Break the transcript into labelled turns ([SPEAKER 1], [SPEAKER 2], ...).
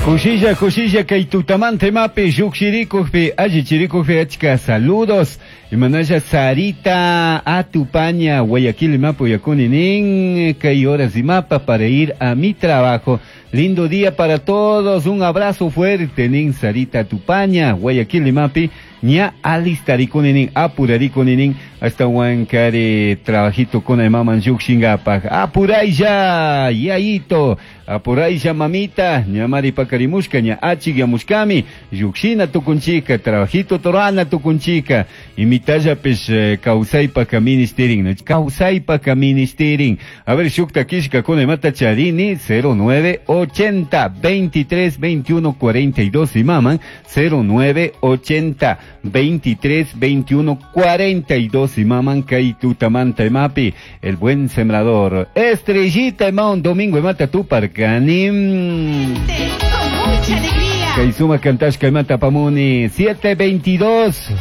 [SPEAKER 1] Kushilla, kushilla kay tutamanta imapi llukshirikukpi allichirikukpi achka saludos. Imanalla Sarita Atupaña, Guayaquil imapi uyakuni nin kay horas imapa para ir a mi trabajo. Lindo día para todos, un abrazo fuerte nin Sarita Atupaña, Guayaquil imapi ña alistarikuni nin apurarikuni nin ashtawankari trabajito kuna imaman llukshinkapak. Apuraylla, yayito, apuraylla mamita, ñamari pakarimushka, ña achikyamushkami, llukshina tukunchika, trabajito torana tukunchika, imitallapish kawsaypaka ministerin, no? Kawsaypaka ministerin. A ver, shukta kishka kuna imata charini, 0980 23 21 42 imaman, 0980 23 21 42 imaman kay tutamanta imapi, el buen sembrador. Estrellita ima un domingo imata tuparkani.
[SPEAKER 2] Con mucha alegría.
[SPEAKER 1] Kay suma kantashka imata pamuni, 722.